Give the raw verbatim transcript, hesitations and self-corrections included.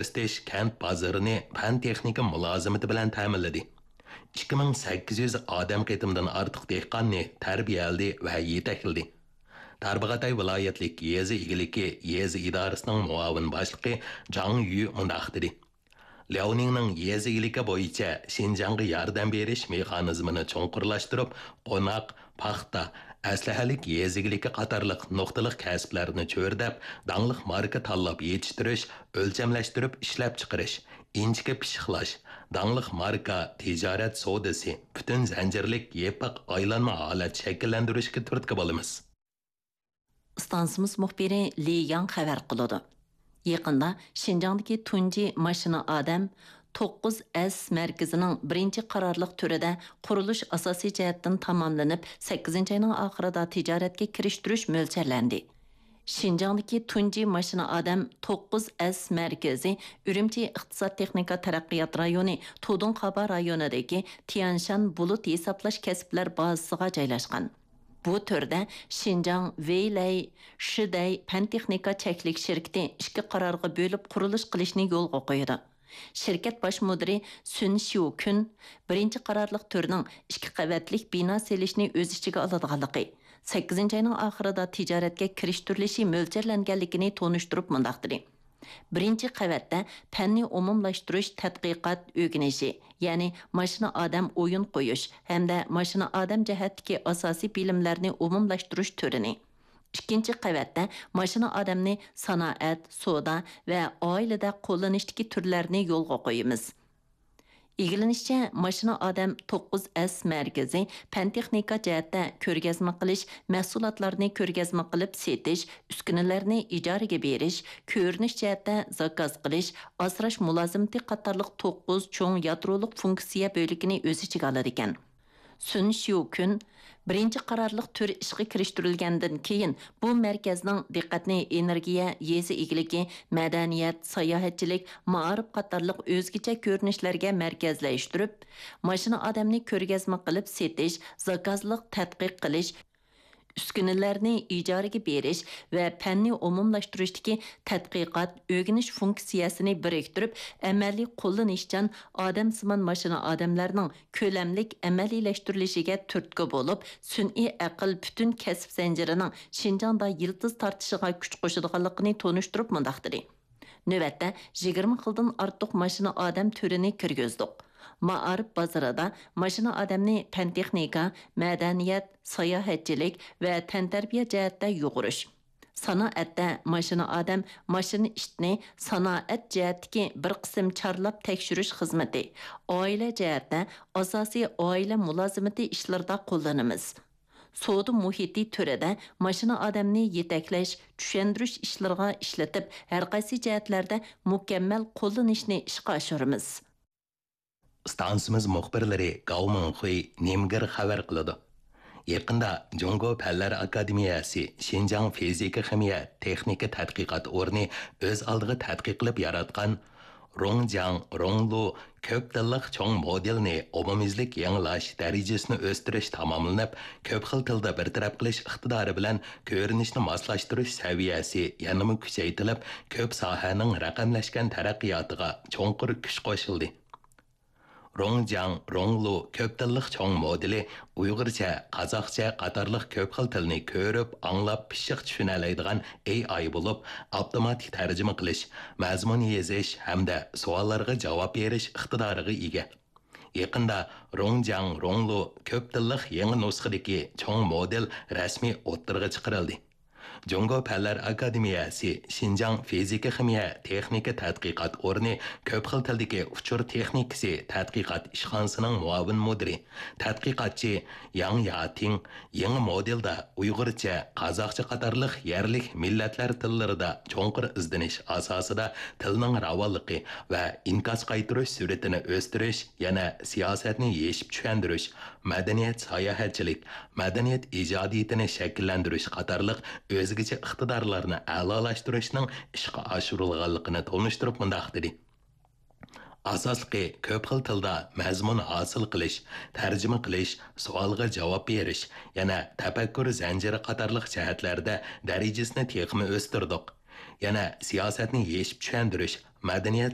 ئۆستۈش كەنت بازىرىنى پەن-تېخنىكا مۇلازىمىتى بىلەن تەمىنلىدى. ئىككى مىڭ سەككىز يۈز ئادەم قېتىمدىن ئارتۇق دېھقاننى تەربىيەلىدى ۋە يېتەكلىدى. تارباغاتاي ۋىلايەتلىك يېزا ئىگىلىكى يېزا ئىدارىسىنىڭ مۇئاۋىن باشلىقى جاڭ يۈ مۇنداق دېدى: لياۋنىڭنىڭ يېزا ئىگىلىكى بويىچە شىنجاڭغا ياردەم بېرىش مېخانىزمىنى چوڭقۇرلاشتۇرۇپ، قوناق، پاختا، ئەسلىھەلىك يېزا ئىگىلىكى قاتارلىق نۇقتىلىق كەسىپلەرنى چۆرىدەپ، داڭلىق ماركا تاللاپ يېتىشتۈرۈش، ئۆلچەملەشتۈرۈپ ئىشلەپچىقىرىش، ئىنچىكە پىششىقلاش، داڭلىق ماركا تىجارەت سودىسى، پۈتۈن زەنجىرلىك يېپىق ئايلانما ھالەت شەكىللەندۈرۈشكە تۈرتكە بولىمىز. ئىستانسىمىز مۇخبىرى لى ياڭ خەۋەر قىلىدۇ. يېقىندا شىنجاڭدىكى تۇنجى ماشىنا ئادەم توققۇز ئەس مەركىزىنىڭ بىرىنچى قارارلىق تۈرىدە قۇرۇلۇش ئاساسىي جەھەتتىن تاماملىنىپ، سەككىزىنچى ئاينىڭ ئاخىرىدا تىجارەتكە كىرىشتۈرۈش مۆلچەرلەندى. شىنجاڭدىكى تۇنجى ماشىنا ئادەم توققۇز ئەس مەركىزى ئۈرۈمچى ئىقتىساد تېخنىكا تەرەققىيات رايونى تۇدۇڭخابا رايونىدىكى تيەنشان بۇلۇت ھېسابلاش كەسىپلەر بازىسىغا جايلاشقان. بۇ تۈردە شىنجاڭ ۋېيلەي شىدەي پەن-تېخنىكا چەكلىك شىركىتى ئىككى قارارغا بۆلۈپ قۇرۇلۇش قىلىشنى يولغا قويىدۇ. شىركەت باش مۇدىرى سۈن شيۇكۈن بىرىنچى قارارلىق تۈرنىڭ ئىككى قەۋەتلىك بىنا سېلىشنى ئۆز ئىچىگە ئالىدىغانلىقى، سەككىزىنچى ئاينىڭ ئاخىرىدا تىجارەتكە كىرىشتۈرۈلۈشى مۆلچەرلەنگەنلىكىنى تونۇشتۇرۇپ مۇنداق دېدى: بىرىنچى قەۋەتتە پەننى ئومۇملاشتۇرۇش تەتقىقات ئۆگىنىشى، يەنى ماشىنا ئادەم ئويۇن قويۇش ھەمدە ماشىنا ئادەم جەھەتتىكى ئاساسىي بىلىملەرنى ئومۇملاشتۇرۇش تۈرىنى، ئىككىنچى قەۋەتتە ماشىنا ئادەمنى سانائەت، سودا ۋە ئائىلىدە قوللىنىشتىكى تۈرلەرنى يولغا قويىمىز. ئىگىلىنىشىچە، ماشىنا ئادەم توققۇز ئەس مەركىزى پەن-تېخنىكا جەھەتتە كۆرگەزمە قىلىش، مەھسۇلاتلارنى كۆرگەزمە قىلىپ سېتىش، ئۈسكۈنىلەرنى ئىجارىگە بېرىش، كۆرۈنۈش جەھەتتە زاكاز قىلىش، ئاسراش مۇلازىمىتى قاتارلىق توققۇز چوڭ يادرولۇق فۇنكسىيە بۆلىكىنى ئۆز ئىچىگە ئالىدىكەن. سۈن شيۇكۈن بىرىنچى قارارلىق تۈر ئىشقا كىرىشتۈرۈلگەندىن كېيىن، بۇ مەركەزنىڭ دىققەتنى ئېنېرگىيە، يېزا ئىگىلىكى، مەدەنىيەت، ساياھەتچىلىك، مائارىپ قاتارلىق ئۆزگىچە كۆرۈنۈشلەرگە مەركەزلەشتۈرۈپ، ماشىنا ئادەمنى كۆرگەزمە قىلىپ سېتىش، زاكازلىق تەتقىق قىلىش، ئۈسكۈنىلەرنى ئىجارىگە بېرىش ۋە پەننى ئومۇملاشتۇرۇشتىكى تەتقىقات، ئۆگىنىش فۇنكسىيەسىنى بىرىكتۈرۈپ، ئەمەلىي قوللىنىشچان ئادەمسىمان ماشىنا ئادەملەرنىڭ كۆلەملىك ئەمەلىيلەشتۈرۈلۈشىگە تۈرتكە بولۇپ، سۈنئىي ئەقىل پۈتۈن كەسىپ زەنجىرىنىڭ شىنجاڭدا يىلتىز تارتىشىغا كۈچ قوشىدىغانلىقىنى تونۇشتۇرۇپ مۇنداق دېدى: نۆۋەتتە يىگىرمە خىلدىن ئارتۇق ماشىنا ئادەم تۈرىنى كىرگۈزدۇق. مائارىپ بازىرىدا ماشىنا ئادەمنى پەن-تېخنىكا، مەدەنىيەت، ساياھەتچىلىك ۋە تەنتەربىيە جەھەتتە يۇغۇرۇش. سانائەتتە ماشىنا ئادەم، ماشىنا ئىتنى سانائەت جەھەتتىكى بىر قىسىم چارلاپ تەكشۈرۈش خىزمىتى، ئائىلە جەھەتتە ئاساسىي ئائىلە مۇلازىمىتى ئىشلىرىدا قوللىنىمىز. سودا مۇھىتى تۈرىدە ماشىنا ئادەمنى يېتەكلەش، چۈشەندۈرۈش ئىشلىرىغا ئىشلىتىپ، ھەرقايسى جەھەتلەردە مۇكەممەل قوللىنىشنى ئىشقا ئاشۇرىمىز. ئىستانسىمىز مۇخبىرلىرى گاۋ مىڭخۇي، نىمگېر خەۋەر قىلىدۇ. يېقىندا جۇڭگو پەنلەر ئاكادېمىيەسى شىنجاڭ فىزىكا خىمىيە تېخنىكا تەتقىقات ئورنى ئۆز ئالدىغا تەتقىق قىلىپ ياراتقان رۇڭجياڭ رۇڭلۇ كۆپ تىللىق چوڭ مودېلنى ئومۇميۈزلۈك يېڭىلاش دەرىجىسىنى ئۆستۈرۈش تاماملىنىپ، كۆپ خىل تىلدا بىر تەرەپ قىلىش ئىقتىدارى بىلەن كۆرۈنۈشنى ماسلاشتۇرۇش سەۋىيەسى يەنىمۇ كۈچەيتىلىپ، كۆپ ساھەنىڭ رەقەملەشكەن تەرەققىياتىغا چوڭقۇر كۈچ قوشۇلدى. رۇڭجياڭ رۇڭلۇ كۆپ تىللىق چوڭ مودېلى ئۇيغۇرچە، قازاقچە قاتارلىق كۆپ خىل تىلنى كۆرۈپ، ئاڭلاپ، پىششىق چۈشىنەلەيدىغان ئېي ئاي بولۇپ، ئاپتوماتىك تەرجىمە قىلىش، مەزمۇن يېزىش ھەمدە سوئاللارغا جاۋاب بېرىش ئىقتىدارىغا ئىگە. يېقىندا رۇڭجياڭ رۇڭلۇ كۆپ تىللىق يېڭى نۇسخىدىكى چوڭ مودېل رەسمىي ئوتتۇرىغا چىقىرىلدى. جۇڭگو پەنلەر ئاكادېمىيەسى شىنجاڭ فىزىكا خىمىيە تېخنىكا تەتقىقات ئورنى كۆپ خىل تىلدىكى ئۇچۇر تېخنىكىسى تەتقىقات ئىشخانىسىنىڭ مۇئاۋىن مۇدىرى، تەتقىقاتچى ياڭ ياتىڭ يېڭى مودېلدا ئۇيغۇرچە، قازاقچە قاتارلىق يەرلىك مىللەتلەر تىللىرىدا چوڭقۇر ئىزدىنىش ئاساسىدا تىلنىڭ راۋانلىقى ۋە ئىنكاس قايتۇرۇش سۈرئىتىنى ئۆستۈرۈش، يەنە سىياسەتنى يېشىپ چۈشەندۈرۈش، مەدەنىيەت ساياھەتچىلىك، مەدەنىيەت ئىجادىيىتىنى شەكىللەندۈرۈش قاتارلىق ئۆزگىچە ئىقتىدارلارنى ئەلالاشتۇرۇشنىڭ ئىشقا ئاشۇرۇلغانلىقىنى تونۇشتۇرۇپ مۇنداق دېدى: ئاساسلىقى كۆپ خىل تىلدا مەزمۇن ھاسىل قىلىش، تەرجىمە قىلىش، سوئالغا جاۋاب بېرىش، يەنە تەپەككۇر زەنجىرى قاتارلىق جەھەتلەردە دەرىجىسىنى تېخىمۇ ئۆستۈردۇق. يەنە سىياسەتنى يېشىپ چۈشەندۈرۈش، مەدەنىيەت